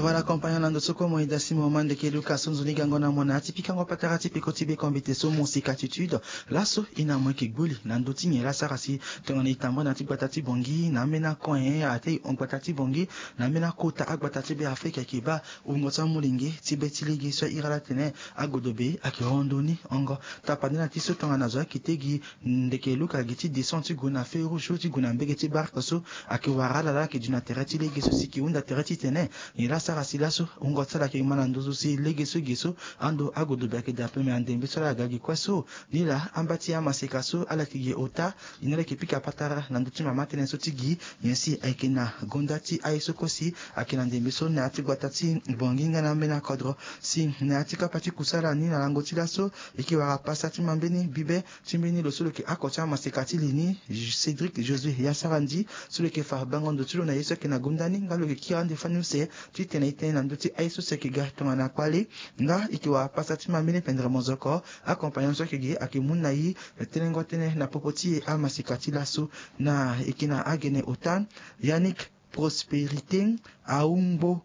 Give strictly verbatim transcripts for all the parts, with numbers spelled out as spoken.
Voilà, compagnon, na ndo so kue mo eda si mo ma ndeke luka so nzoni gango na mo na ya ti pikango patara ti peko ti be kombite so mo sika attitude. Laso e na mo yeke gboli na ndo ti nyen la sara si tongana e tambula na ya ti gbata ti Bangui na ambeni akoin ate e hon gbata ti Bangui na ambeni akota agbata ti be Afrika ayeke baa wungo ti amolenge ti be ti lege so ahiri ala tene agodobe ayeke hon ndo ni hongo. Tapande na ti so tongana zo ayeke te gi ndeke luka gi ti descend ti gue na feu rouge so ti gue na mbege ti barke so ayeke wara ala la ayeke duti na tere ti lege so si e ke hunda tere titene nyen la sara si laso wungo ti ala ayeke ma na nduzu si lege so e ge so ando agodobe ayeke daa ape me andembe so ala ga gi kue so. Ni laa amba ti amaseka so ala yeke gi ota. Ni ala yeke pika patara na ndö ti mama tënë so ti gi nyen si ayeke na gonda ti aye so kue si ayeke na ndembe so na ya ti gbata ti Bangui nga na ambeni akodro. Si na ya ti kapa ti kusala ni na lango ti laso e yeke wara pasa ti ma mbeni bibe ti mbeni lo so lo yeke oko ti amaseka ti li ni, Cédric Josué Yassarandi, so lo yeke fa bango ndo ti lo na ye so ayeke na gonda ni nga lo yeke kiri ande fani use titene e tene na ndö ti aye so si ayeke ga tongana kpale. Nga e yeke wara pasa ti ma mbeni pendere mozoko. Akompagnon so ayeke ge ayeke mu na e telengo tënë na popo ti e amaseka ti laso. Na e yeke na agene ota Yannick Prospérité Aoumbo,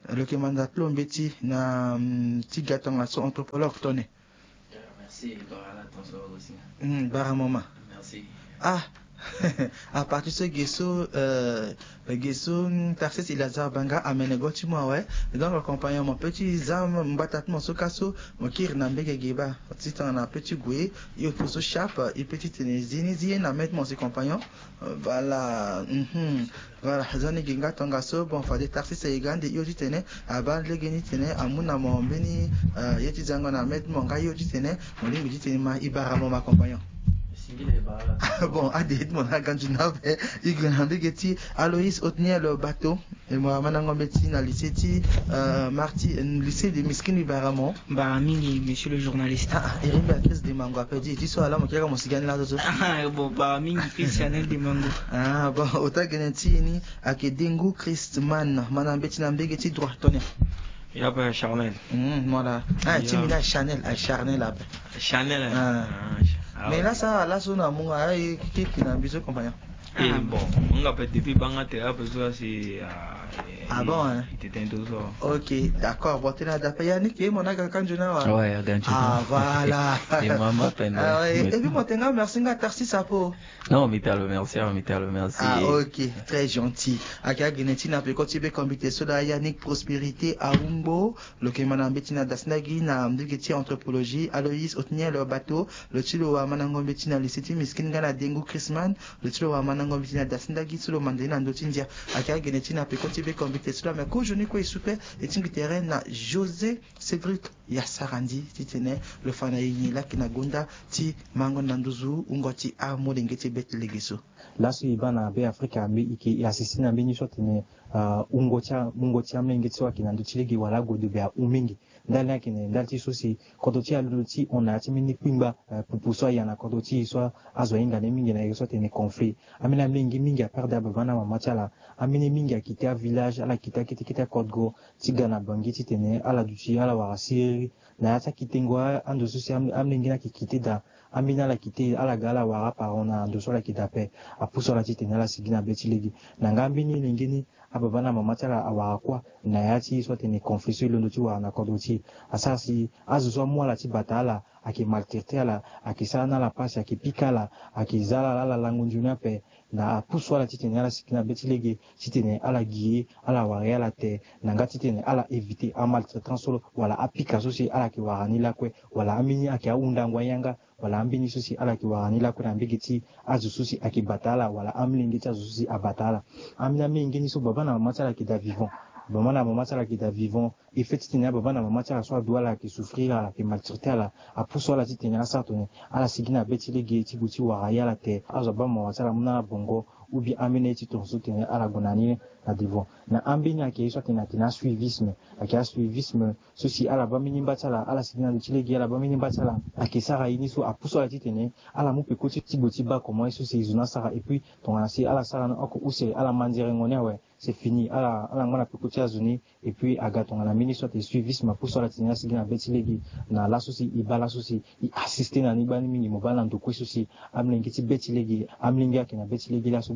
lo yeke manda ti lo mbeti na mm, ti ga tongaso anthropologue tone. Merci, bara la ton so aussi. Mm, bara mama. Merci. Ah, à partir so ge so euh, ge so mm, Tarsis Elazar Banga amene go ti mo awe. Donc compagnon mo pe ti za mbata ti mo so ka so mo kiri na mbege ge baa ti tongana pe ti gue. Yo to so sharp e pe ti tene zi ni zi ye na maitre mo si compagnon. Euh, voilà. Mhm. Voilà, zo ni gi nga tongaso. Bon, fade Tarsis e ga ande hio titene abaa lege ni titene amu na mo mbeni euh, ye ti zango na maitre mo nga hio titene mo lingbi titene ma e bara mo ma compagnon. Bon, ade ye ti mo na ganzu na ape. E gue na mbege ti Aloïs Otniel Bateau. E mo amandango mbeti na lycée ti euh, Marti, lycée de Miskini, bara mo. Bara mingi, monsieur le journaliste. Ah, ah, e rimbi a Chris de Mango ape di ti so ala mo kiri mo sigani laso so. Ah, bon, bara mingi Christianel de Mango. Ah, bon, ota gene ti e ni ayeke Dengu Christman, ma na mbeti na mbege ti droit tone. Ya pe Charnel. Mm, voilà. Ah, ti mi na Chanel, ah, Charnel ape. Chanel. Ah. Mais là ça, là so na munga, ah, e kiki na mbi so compagnon. Eh, bon, nga pe depuis banga te ape so si ah bon, hein. Tete to so. Ok, d'accord. Bon, tena dape ya ni ke mo na ga kanjo na wa. Ouais, ya kanjo. Ah, voilà. Et maman peine. Ah ouais. Et puis mo tenga merci nga Tarsis apo. Non, mi talo merci, mi talo merci. Ah, ok, très gentil. Ake agene ti na peko ti be kombite so da Yannick Prospérité Aumbo. Lo yeke ma na mbeti na dasindagi na ndege ti anthropologie Aloïs Otniel Bateau. Lo ti lo amandango mbeti na lycée ti Miskine nga na Dengu Christman. Lo ti lo amandango mbeti na dasindagi so lo manda ye na ndö ti ndia. Ayeke agene ti na peko ti be kombite so lo ame kozo ni kue e su pe e tingbi tere na José Cédric Yassarandi titene lo fa na e nyen laki na gonda ti mango na nduzu wungo ti amolenge ti be ti lege so. Laso e baa na be Afrika mbi e ke e assiste na mbeni so atene wungo ti a wungo ti amolenge ti so ayeke na ndö ti lege wala ague dobe ahu mingi. Ndali ni ayeke na ndali ti so si kodro ti e alondo ti hon na ya ti mbeni kpingba pupu so aya na kodro ti e so azo ahinga ni mingi na iri so atene conflit. Ambeni amolenge mingi aperde ababa na mama ti ala. Ambeni mingi akite avillage ala kite akete kete akodro ti ga na Bangui titene ala duti ala wara siriri. Na ya ti akitengo ando so si amolenge ni ayeke kite daa. Ambeni ala kite ala ga ala wara aparent na ando so ala yeke daa ape. Apusu ala titene ala sigi na be ti lege. Na nga ambeni lenge ni ababa na mama ti ala awara kuâ na ya ti so atene conflit so e londo ti wara na kodro ti e. Asara si azo so amu ala ti bata ala ayeke maltraiter ala, ayeke sara na ala pasi, ayeke pika ala, ayeke za ala laa ala lango nzoni ape. Na apusu ala titene ala sigi na be ti lege titene ala gi ye, ala wara ye ala te. Na nga titene ala éviter amaltraitance so wala apika so si ala yeke wara ni lakue, wala ambeni ayeke ahundango ayanga, wala ambeni so si ala yeke wara ni lakue na mbege ti azo so si ayeke bata ala wala amolenge ti azo so si abata ala. Ambeni amolenge ni so baba na mama ti ala ayeke daa vivant. Baba na mama ti ala ayeke daa vivant. E fait titene ababa na mama ti ala so adu ala ayeke souffrir ala, ayeke maltraiter ala. Apusu ala titene asara tongana ala sigi na be ti lege ti gue ti wara ye ala te. Azo abaa mawa ti ala amu na ala bongo. Ou bien ambeni aye ti tongaso titene ala gue na ni na devant. Na ambeni ayeke ye so atene atene asuivisme. Ayeke asuivisme so si ala baa mbeni mba ti ala ala sigi na ndö ti lege ala baa mbeni mba ti ala. Ayeke sara ye ni so apusu ala titene ala mu peko ti ti gue ti baa comment ye so si e zo ni asara. Et puis tongana si ala sara ni oko use ala manderengo ni awe, c'est fini. Ala ala ngba na peko ti azo ni. Et puis aga tongana mbeni so atene suivisme apusu ala titene ala sigi na be ti lege. Na laso si e baa laso si e assister na ni gbani mingi mo baa na ndo kue so si amolenge ti be ti lege, amolenge ayeke na be ti lege laso.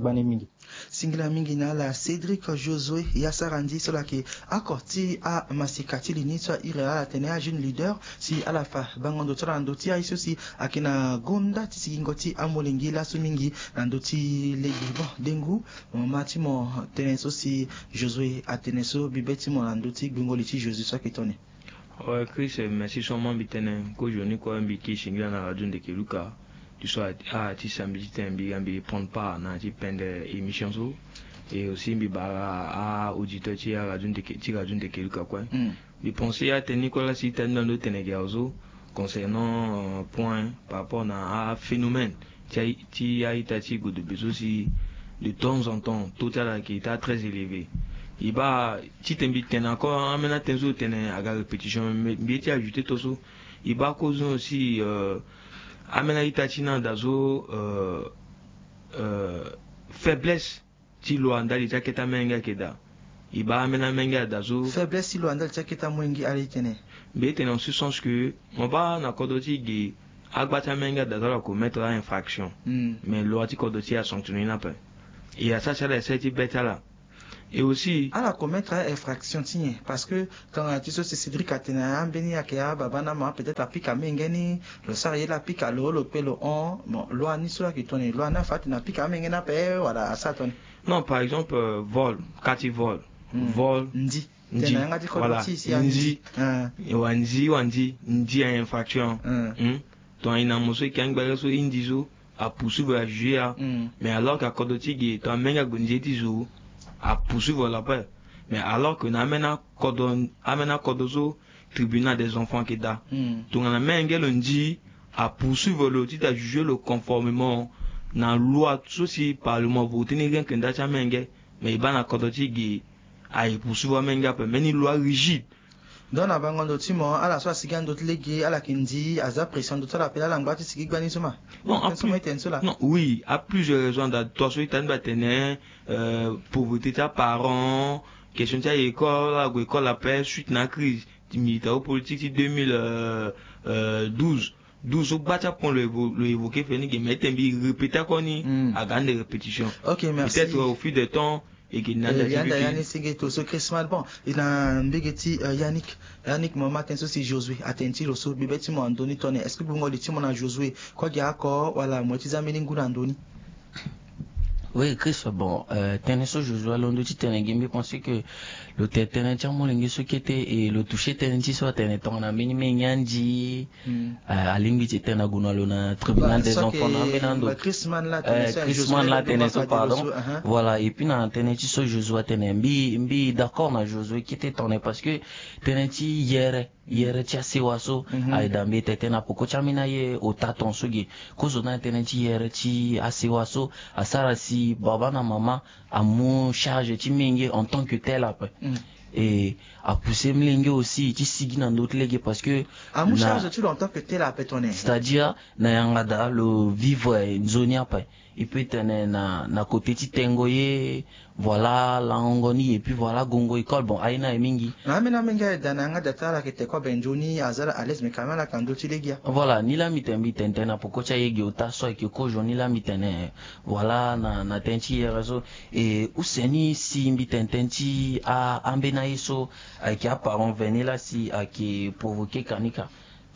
Singila mingi na ala Cédric Josué, ya sara ndi so ala yeke oko ti amasika ti li ni so a iri ala tene ajeune leader, si ala fa bango ndo ti ala na ndö ti aye so si ayeke na gonda ti sigingo ti amolenge laso mingi na ndö ti lege. Bon, dengu, mama ti mo, tënë so si Josué atene so, bibe ti mo na ndö ti gbingo li ti Josué so ayeke tongana nyen? Ouais, Chris, euh, merci so mo mbi tene. Kozoni kue mbi ke singila na Radio Ndeke Luka. Ti so a, a ti samedi ti tene mbi ga mbi prendre part na ti pendre émission so. Et aussi mbi bara a auditeur ti a Radio Ndeke, ti Radio Ndeke Luka kue. Mm. Mbi pense atene ni kue la si tene ndo tene ge azo concernant, euh, point par rapport na a phénomène ti a, ti a-ita ti godobe so si de temps en temps taux ti ala ayeke ita très élevé. E baa ti tene mbi tene encore ambeni atene so tene aga répétition, mais mbi ye ti ajouter to so. E baa kozoni aussi, euh, ambeni a-ita ti ni ada so, euh, euh, faiblesse ti lo a ndali ti akete amolenge ayeke daa. E baa ambeni amolenge ada so. Faiblesse ti lo a ndali ti akete amolenge ala e tene. Mbi e tene en ce sens que mo baa na kodro ti ge, agba ti amolenge ada so ala commettre a-infraction. Mm. Mais loi ti kodro ti e asanctionner ni ape. E asara si ala essayer ti be ti ala. Et aussi ala commettre a-infraction ti nyen? Parce que tongana ti so si Cédric atene ambeni ayeke ababa na mama, peut-être apika amolenge ni, lo sara ye la apika lo, lo kpe lo hon. Bon, loi ni so la ayeke tongana nyen? Loi ni afa atene apika amolenge ni ape wala asara tongana nyen? Non, par exemple, euh, vol, ka ti vol. Hmm. Vol. Ndi. Ndi. Tena yanga ti kodro ti si ya ndi. Ndi. Ah. Wa ndi, wa ndi, ndi a-infraction. Hmm. Hmm. Tongana e na mo so e yeke angbanga so e ndi so, apoursuivre, ajuger a. Hmm. Mais alors que akodro ti ge, tongana amolenge ague nzoni ti zo, apoursuivre lo ape. Mais alors que na ambeni akodro, ambeni akodro so, tribunal des enfants ayeke daa. Hmm. Tongana amolenge lo ndi, apoursuivre lo titene ajuger lo conformément na loi so si parlement avoter ni, rien que nda ti amolenge. Mais e baa na kodro ti ge, aye poursuivre amolenge ape, mbeni loi rigide. Donc na bango ndo ti mo, ala so asigi na ndö ti lege, ala yeke ndi, aza pression na ndö ti ala ape, ala ngba ti sigi gbani so ma? Bon, tënë so mo ye tene so la. Non, oui, a plusieurs raisons. Ada, to so ita ni mbi atene, euh, pauvreté ti aparent, question ti a-école, ala gue école ape suite na crise militaro-politique ti deux mille douze. Douze so gba ti apon lo évo-, lo évoquer fini ge, mais tene mbi répéter kue ni. Hmm. Aga ande répétition. Ok, merci. Peut-être au fil de temps, e ke na, euh, anda ti ya nda biki. Ya ni senge to so Christmas. Bon, e na mbege ti, euh, Yannick. Yannick, mo ma tënë so si Josué atene ti lo so, bibe ti mo na ndö ni tongana nyen? Est-ce que gbungo li ti mo na Josué kue gi oko wala mo ye ti za mbeni ngu na ndö ni? Oui, Chris, bon, euh, tënë so Josué alondo ti tene ge, mbi pense que lo tene tënë ti amolenge so kete, e lo toucher tënë ti so atene tongana mbeni menge andi. Hmm. Euh, alingbi ti tene ague na lo na tribunal des enfants na ambeni ando. Christmas la tene so, Christmas la tene so, pardon. Voilà, et puis na tënë ti so Josué atene, mbi, mbi d'accord na Josué kete tongana nyen, parce que tënë ti yere, yere ti asewa so, mhm, aye daa. Mbi tene tënë na peko ti ambeni aye ota tongaso ge. Kozoni na tënë ti yere ti asewa so asara si baba na mama amu charge ti menge en tant que tel ape. Mm. E apousser molenge aussi ti sigi na ndö ti lege, parce que amu charge ti lo en tant que tel ape tongana nyen? C'est-à-dire na yanga daa lo vivre nzoni ape. E peut tene na, na côté ti tengo ye, voilà, langongo ni, et puis voilà, gongo école, bon, aye ni aye mingi. Na ambeni amenge aye daa na yanga daa ti ala ayeke te kue abe nzoni, aza ala à l'aise, mais quand même ala yeke na ndö ti lege ya. Voilà, ni laa mbi tene, mbi tene tënë na peko ti aye ge ota so ayeke kozoni, ni laa mbi tene, voilà, na, na tënë ti yere so. E use ni si mbi tene tënë ti a, ambeni aye so ayeke aparent vene la si ayeke provoquer kanika.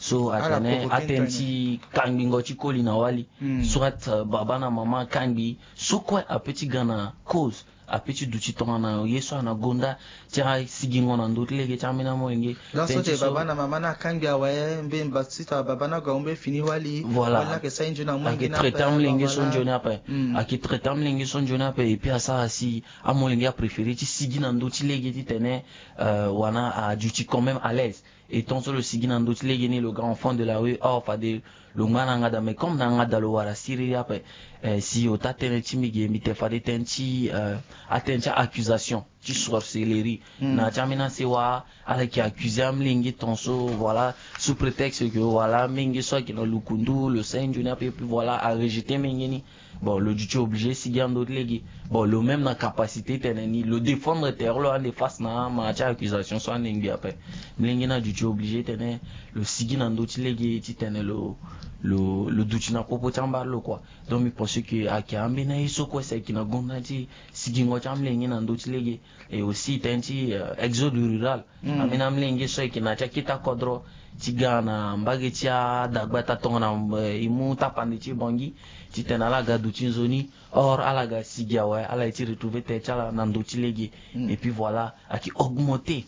So atene atene ti kangbingo ti koli na wali. Hmm. Soit, euh, baba na mama akangbi, so kue ape ti ga na cause, ape ti duti tongana ye so ana gonda ti asigingo na ndö ti lege ti ambeni amolenge. Donc so te baba na mama ni akangbi awe, mbeni baba ti tongana baba ni ague amu mbeni fini wali. Voilà. Wali ni ayeke sara nzoni amu, ayeke traiter amolenge so nzoni ape. Hmm. Ayeke traiter amolenge so nzoni ape, et puis asara si amolenge apréférer ti sigi na ndö ti lege titene, euh, wala aduti quand même à l'aise. E tongaso lo sigi na ndö ti lege ni, lo ga enfant de la rue, or fade lo ngba na yanga daa, mais comme na yanga daa lo wara siriri ape, eh, si ota tënë ti mbi ge, mbi tene fade tënë ti, eh, atënë ti accusation. ti sorcellerie. Na ya ti ambeni asewa ala yeke accusé amolenge ton so, voilà, sous prétexte que, voilà, amolenge so ayeke na lukundu lo sara nzoni ape, et puis voilà, arejeté molenge ni. Bon, lo duti obligé sigi na ndö ti lege. Bon, lo même na capacité titene ni lo défendre tere lo ande face na ama ti accusation so ande ngbi ape. Molenge ni aduti obligé titene lo sigi na ndö ti lege titene lo lo lo duti na popo ti ambara lo kua. Donc mbi pense que ayeke ambeni aye so kue si ayeke na gonda ti sigingo ti amolenge na ndö ti lege. Et aussi tënë ti exode rural, ambeni amolenge so ayeke na ya ti akete akodro ti ga na mbage ti adagbata tongana e mu tapande ti bangi titene ala ga duti nzoni. Or ala ga sigi awe, ala ye ti retrouver tere ti ala na ndö ti lege. Et puis voilà, ayeke augmenter.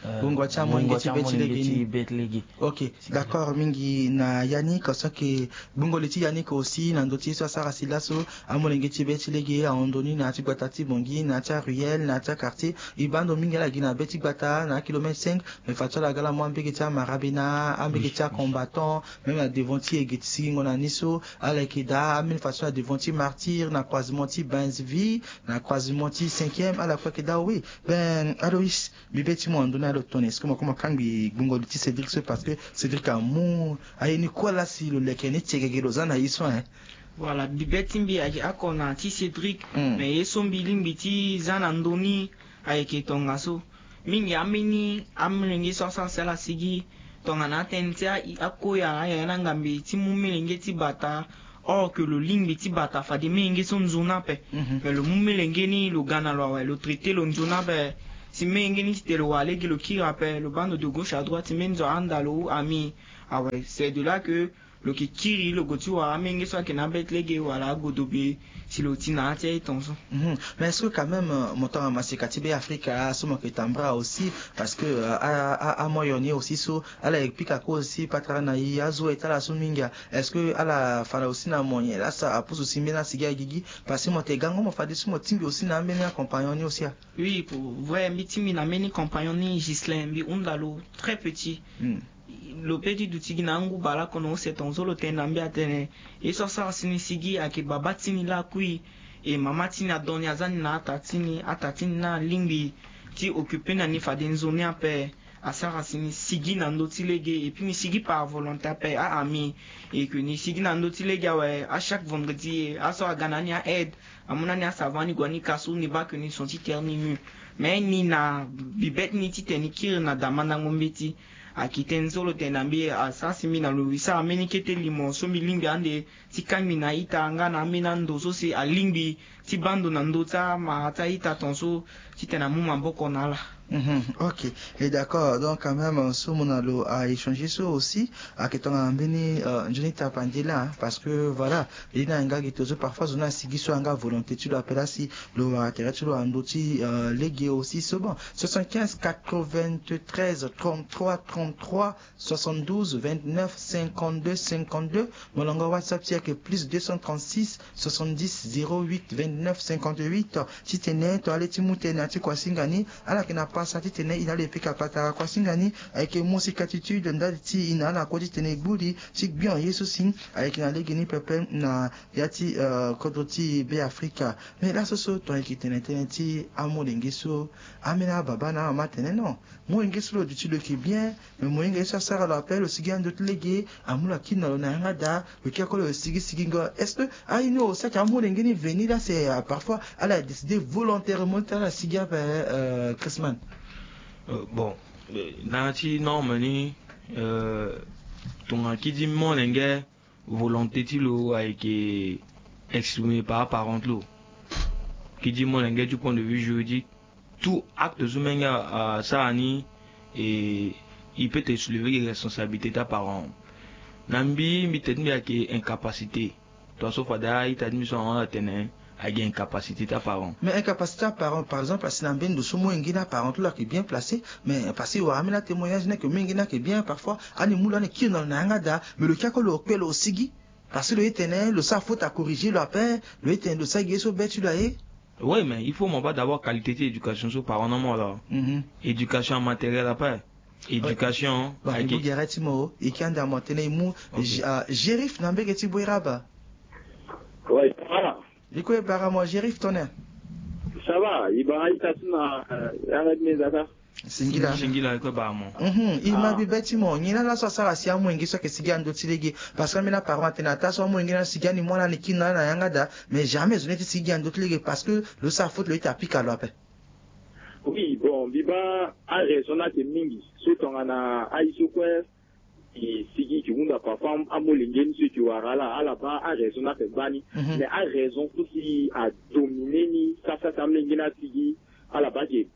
Gbungo ti amolenge ti be ti lege. Ok, d'accord mingi na Yannick. Parce que gbungo li ti Yannick aussi na ndö ti ye so asara si laso, amolenge ti be ti lege ahon ndoni na ya ti gbata ti Bangui, na ya ti aruelle, na ya ti aquartier. E baa ndo mingi ala gi na be ti gbata na akilomètre cinq. Mais fadeso ala ga ala mu ambege ti amarabena, ambege ti acombattant, même na devant ti e ge ti sigingo na ni so ala yeke daa ambeni fadeso na devant ti martyr, na croisement ti Benzeville, na croisement ti cinquième, ala kue ayeke daa oui. Ben Aloïs, mbi be ti mo na ndö ni alo tongana est-ce que mo kue mo kangbi gbungo li ti Cédric so? Parce que Cédric amu aye ni kue laa si lo leke ni tiegege lo za na ye so, hein. Voilà, mbi be ti mbi ayeke oko na ti Cédric. Mais ye so mbi lingbi ti za na ndö ni ayeke tongaso. Mingi ambeni amolenge so asara si ala sigi tongana atënë ti a- akoya ayaya na ngambe ti mu molenge ti bata. Or que lo lingbi ti bata fade molenge so nzoni ape. Mais lo mu molenge ni lo ga na lo awe, lo traité lo nzoni ape. Si molenge ni ti tene lo wara lege lo kiri ape, lo baa ndo de gauche à droite, mbeni zo ahanda lo ou ami. Awe, c'est de là que lo yeke kiri lo gue ti wara amolenge so ayeke na abet lege wala agodobe si lo ti na ya ti aye tongaso. Mais est-ce que quand même mo tongana maseka ti Be Afrika so mo yeke tambula aussi? Parce que amoyen ni aussi so ala yeke pika kue aussi patara na e azo e ti ala so mingi. Est-ce que ala fa na aussi na moyen laa so apusu si mbeni asigi agigi? Parce que mo yeke gango mo fadeso mo tingbi aussi na ambeni acompagnon ni aussi a. Oui, pour vrai mbi tingbi na mbeni compagnon ni Ghislain, mbi hunda lo très petit. Lo pe ti duti gi na angu baleoko na use tongaso lo tene na mbi atene ye so asara si ni sigi ayeke baba ti ni laa kui. E mama ti ni adon ni aza ni na ata ti ni, ata ti ni ni alingbi ti occuper na ni fade nzoni ape. Asara si ni sigi na ndö ti lege et puis ni sigi par volonté ape a ami. Et que ni sigi na ndö ti lege awe, a chaque vendredi aso aga na ni a aide. Amu na ni asavant ni gue ni kasu ni baa que ni son ti terre ni mu. Mais ni na mbi be ti ni titene ni kiri na damandango mbeti. Ayeke tënë so lo tene na mbi asara si mbi na lo sara mbeni kete limo so mbi lingbi ande ti kangbi na a-ita nga na ambeni ando so si alingbi ti baa ndo na ndö ti amara ti a-ita tongaso titene amu maboko na ala. Ok. Et d'accord, donc quand même so mo na lo a-échanger so aussi ayeke tongana mbeni nzoni tapande laa, parce que voilà, e na yanga gi tozo parfois zo ni asigi so ayanga volonté ti lo ape laa si lo wara tere ti lo na ndö ti lege aussi so. Bon, soixante-quinze quatre-vingt-treize trente-trois trente-trois soixante-douze vingt-neuf cinquante-deux cinquante-deux. Molongo WhatsApp ti e ayeke plus deux cent trente-six soixante-dix zéro huit vingt-neuf cinquante-huit. Titene tongana le ti mu tënë na ti kuasinga ni, ala yeke na pasa titene e na lo e pika patara. Kuasinga ni ayeke musika attitude ndali ti e na ala kue titene e gbu li ti gbion ye so si ayeke na legeni pepe na ya ti kodro ti Be Afrika. Mais laso so tongana e yeke tene tënë ti amolenge so, ambeni ababa na amama atene non, molenge so lo duti lo yeke bien. Mais molenge ye so asara lo ape lo sigi ando ti lege, amu lo akiri na lo na yanga daa, lo kiri kue lo sigi sigingo. Est-ce que aye ni aussi ayeke amolenge ni veni laa si parfois ala décider volontairement ti ala sigi ape? Chrisman. Bon, na ya ti norme ni, tongana kidi molenge volonté ti lo ayeke exprimé par aparent ti lo. Kidi molenge du point de vue juridique, tout acte so menge asara ni, e peut te soulever gi responsabilité ti aparent. Na mbi mbi tene ti mbi ayeke incapacité. Tongaso fade a-ita ti mbi so ahon ala tene ayeke incapacité ti aparent. Mais incapacité aparent par exemple asi na mbeni ndo so molenge ni aparent ti lo ayeke bien placé. Mais parce que e wara ambeni atémoignage ni ayeke molenge ni ayeke bien, parfois ani mu lo ani kiri na lo na yanga daa. Mais lo kiri kue lo kpe lo sigi. Parce que lo ye tene lo sara faute acorriger lo ape. Lo ye tene lo sara gi ye so be ti lo aye. Oui, mais il faut mo baa d'abord qualité ti éducation so parent na mo ala. Éducation amatériel ape. Éducation. Bon, ayeke ibu gere ti mo e ki anda mo tene e mu. Gérif na mbege ti boiraba. Oui, voilà. E kue bara mo Gérif tongana. Ça va, e baa ita ti na yanga ti meza ka. Singila. Singila ko ba mo. Mhm, e ma bi be ti mo, nyen na laso asara si amolenge so ayeke sigi ando ti lege? Parce que ambeni aparent atene ata so amolenge na sigi ani mu ala ni kiri na ala na yanga daa, mais jamais zo ni ti sigi ando ti lege parce que lo sara faute, lo ita apika lo ape. Oui, bon, mbi baa araison ni ayeke mingi. So tongana aye so kue e sigi e ke hunda parfois amolenge ni so e ke wara ala, ala baa araison ni ayeke gbani. Mhm. Mais araison so si adomine ni sasa si amolenge ni asigi, ala baa ayeke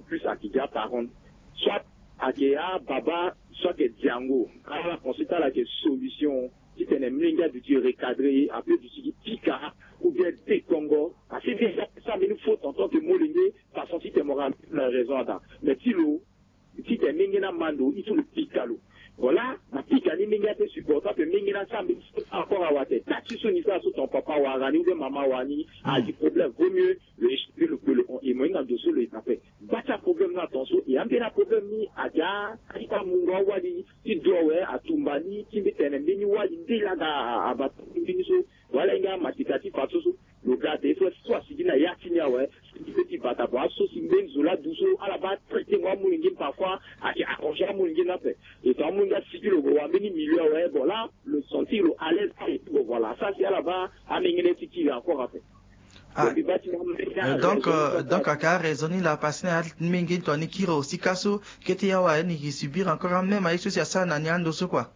plus ayeke gi aparent. Soit ayeke ababa, soit ayeke diango. Ala pense ti ala ayeke solution titene mlenge aduti recadrer ye, ape duti gi pika ou bien dekongo. Parce que déjà so ambeni faute en tant que molenge, façon titene mo ramener na raison ada. Mais ti lo titene mlenge ni amando, il faut lo pika lo. Voilà, na pika ni mlenge ape supporter ape mlenge ni asara mbeni faute encore awa atene taa ti so ni sara so ton papa wara ni ou bien mama wara ni, a gi problème, vaut mieux lo expliquer lo kpelo hon. E mo hinga ndo so lo yeke na ape. Gba ti aproblème ni atongaso, e ambeni aproblème ni ayeke a, a ti kue amungo awali ti do awe, atumba ni ti mbi tene mbeni wali nde laa ga a, abata mbeni so. Wala hinga amatika ti fa so so. Lo ga ate so, so asigi na ya ti ni awe, sigi pe ti bata. Bon, aso si mbeni zo laa du so, ala baa traiter ngo amolenge ni parfois, ayeke arranger amolenge ni ape. Et ton amolenge asigi lo gue wa mbeni milieu awe, bon, là, lo sentir lo à l'aise, et puis bon, voilà. Ça, si ala baa amengene ti kiri encore ape. Ah. Bon, mbi baa ti na amolenge ni, euh, donc, araison ni, euh, donc, ayeke araison ni laa parce que na ya ti menge ni tongana ni kiri aussi ka so, kete ya awe ni ke subir encore même aye so si asara na ni ando so quoi.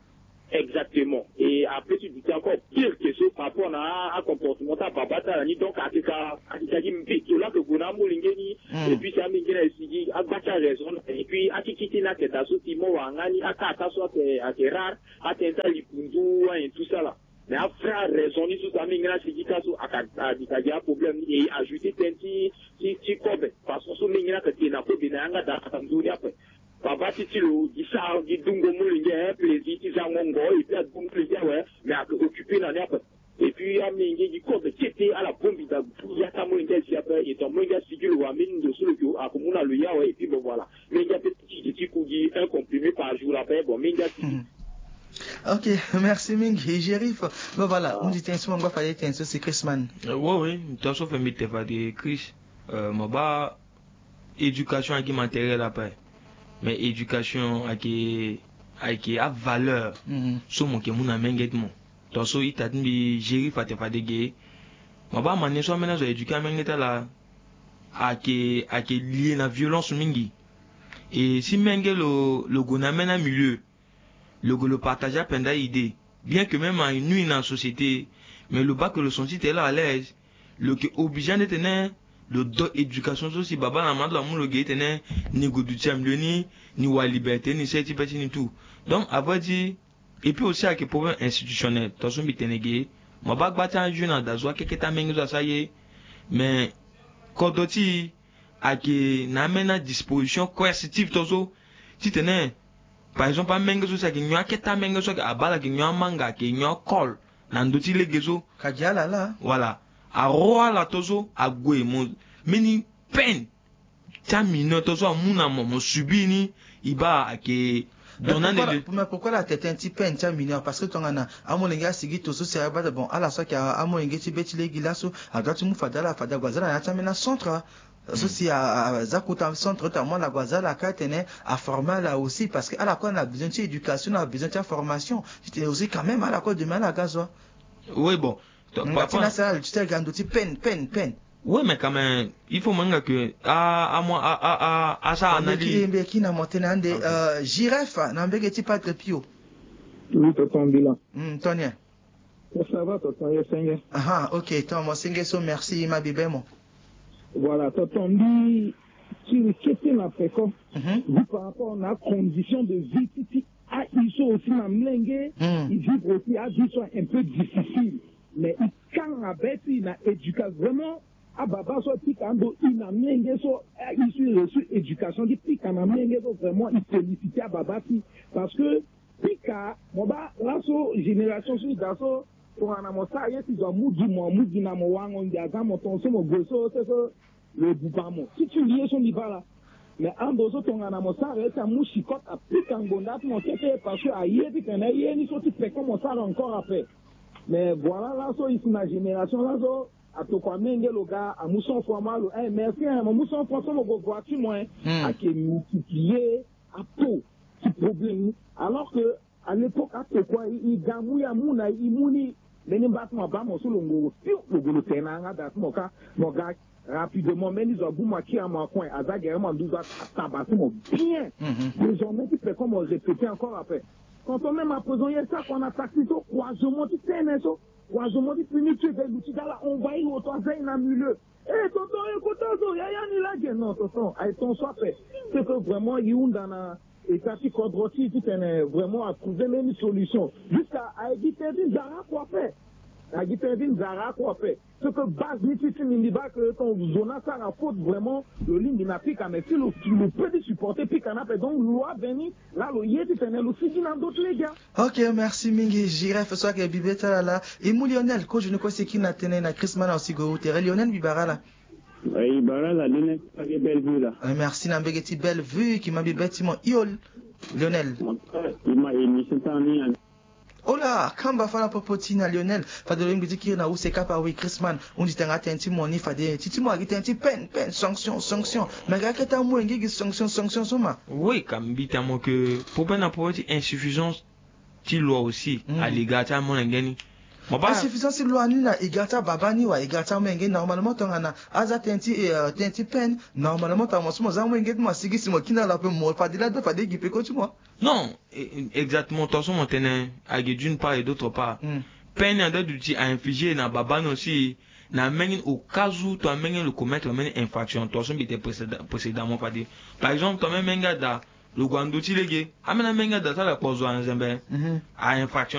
Exactement. Et après, ti duti encore pire que so par rapport na a, a comportement ti ababa ti ala ni. Donc, ayeke ka, ayeke ka gi mbeto laa ayeke gue na amolenge ni. Hmm. Et puis, si amolenge ni ayeke sigi, agba ti araison. Et puis, akiki ti ni ayeke daa so ti mo wara nga ni, aka ata so ayeke, ayeke rare, atene ti alikundu, ayen tout ça là. Mais avrai araison ni so si amolenge ni asigi ka so, aka, ayeke ka gi aproblème ni. Et ajouter tënë ti, ti, ti kobe. Façon so menge ni ayeke tene na kobe na yanga daa, aka nzoni ape. Baba ti ti lo gi sara gi dungo molenge, eh, plaisir ti zango ngo, et puis adungo molenge awe, mais ayeke occupé na ni ape. Et puis amenge gi kobe kete, ala bongbi daa, ya ti amolenge azi ape, et ton amolenge asigi lo wa mbeni ndo so lo yeke, ayeke mu na lo ya awe, et puis bon voilà. Menge ape ti ti ti ku gi un comprimé par jour ape, bon, menge asigi. Hmm. Ok, merci mingi Gérif. Bon voilà, ah, hundi tënë so mo ngba fade tënë so si Chrisman. Euh, oui, oui, tongaso fade mbi te fade Chris. Euh, mo baa éducation ayeke matériel ape. Mais éducation ayeke, ayeke avaleur, mhm, so mo yeke mu na menge ti mo. Tongaso ita ti mbi Gérif ate fade ge, mo baa manière so ambeni azo a éduquer amenge ti ala ayeke, ayeke lié na violence mingi. Et si menge lo, lo gue na ambeni amilieu, lo gue lo partager apenda idée. Bien que même anuit na société, mais lo baa que lo senti tene lo à l'aise, lo yeke obligé ande tene lo do éducation so si baba na mama ti lo amu lo ge tene ni gue duti amilieu ni, ni wara liberté, ni sere ti be ti ni tout. Donc, à vrai dire, et puis aussi ayeke problème institutionnel. Tongaso mbi tene ge, mo baa gba ti ajeune adazo akeke ti amenge so asara ye, mais kodro ti e ayeke na ambeni adisposition coercitive tongaso, titene, par exemple, amenge so si ayeke nyon akete amenge so, abaa ala yeke nyon amanga, ayeke nyon akol na ndö ti lege so. Ka gi ala laa. Voilà. Aro ala tongaso ague mo mbeni peine ti amineur tongaso amu na mo, mo subir ni, e baa ayeke. Mais pourquoi, mais pourquoi la tete ti peine ti amineur? Parce que tongana amolenge asigi tongaso si abaa, bon, ala so ayeke amolenge ti be ti lege laso, adoit ti mu fade ala, fade ague aza na ya ti ambeni acentre. So si a, a, aza kota centre ti amu ala gue aza ala ka atene aformer ala aussi, parce que ala kue na besoin ti éducation, na besoin ti aformation. Titene aussi quand même ala kue demain ala ga zo. Oui, bon. Donc, mais papa, ti na sara le tutel ga ndo ti peine, peine, peine. Oui, mais quand même, il faut mo hinga que a, a, mo, a, a, a, a sara analyse. Mbe ki, mbe ki na mo tene ande, ok, euh, Giref na mbege ti Padre Pio. Oui, tonton Mbila. Hmm, tongana nyen? Ça va, tonton, yo senge. Aha, ok, tonton, mo senge so, merci, ma bibe mo. Voilà, tonton, mbi tiri kete na peko. Mhm. Vu par rapport na condition de vie ti, ti aye so aussi na mlenge, hmm, e vivre aussi aye so un peu difficile. Mais e kanga be ti na éducation. Vraiment, ababa so apika ando e na mlenge so, aye so e reçu éducation ti pika na mlenge so, vraiment e féliciter ababa ti. Parce que pika, mo baa laso génération so e daa so, tongana mo sara ye ti zo amu gi mo, amu gi na mo, wango ngia aza mo, tongaso mo gue so, se so lo buba mo. Ti ti li ye so mbi baa laa. Mais ando so tongana mo sara ye ti amu chicot apika ngonda ti mo kete, parce que aye titene ye ni so ti peko mo sara encore ape. Mais voilà laso e si na génération laso, Atokua menge lo ga amu cent francs, ma lo eh merci hein, mo mu cent francs so mo gue gue ti mo hein. Ake multiplier apo ti problème ni. Alors que à l'époque atokua e ga mu ya mu na e mu ni. Mbeni mba ti mo abaa mo so lo ngoro piu lo gue lo tene na yanga daa ti mo kâ. Mo ga rapidement mbeni zo abu mo akiri na mo na coin aza gere mo na nduzu ataba ti mo bien. Désormais ti peko mo répéter encore après. Quand on même à présent ye sa kua na taxi so croisement ti tene so. Croisement ti fini ti eve luti dala envahi lo to aza e na milieu. Eh tonton e kota zo yaya ni lage non tonton aye ton so ape. C'est que vraiment e hunda na état ti kodro ti e titene vraiment atrouver même solution. Jusqu'à aye gi tene ti nzara kua ape. Aye gi tene ti nzara kua ape. Ce que base ni ti ti mindi baa que ton zo ni asara faute vraiment lo lingbi na pika mais si lo lo peut ti supporter pika ni ape donc lo aveni. Laa lo ye titene lo sigi na ndö ti lege. Ok, merci mingi Giref so ayeke bibe ti ala laa. E mu Lionel kozo ni kue si e kiri na tënë na Christmas na osi gue wu tere Lionel mbi bara ala. E bara ala Lionel ti Bellevue laa. Eh, merci na mbege ti Bellevue ki ma mbi be ti mo hio Lionel. E ma émission ti ala ni. Ola kamba fâ na popo ti na Lionel fade lo lingbi ti kiri na use kapa awe Christmas. Hundi tanga tënë ti mo ni fade ti ti mo ayeke tënë ti peine peine sanction sanction. Me ayeke akete amolenge gi sanction sanction so ma. Oui ka mbi ti amo ke popo na popo ti insuffisance ti loi aussi. Ali ga ti amolenge ni. Mo baa insuffisance ti loi ni na e ga ti ababa ni wa e ga ti amolenge ni normalement tongana aza tënë ti tënë ti peine. Normalement tongana mo so mo za amolenge ti mo asigi si mo kiri na lo ape mo fade laa do fade e gi peko ti mo. Non. Exactement tongaso mo tene agi d'une part et d'autre part. Peine ni ande duti a infliger na baba ni aussi. Na amenge ni au cas où to amenge ni lo commettre mbeni infraction tongaso mbi tene précédemment fade. Par exemple to amenge menge ada lo gue na ndö ti lege. Ambeni amenge ada ti ala kpo zo na nzembe. A infraction.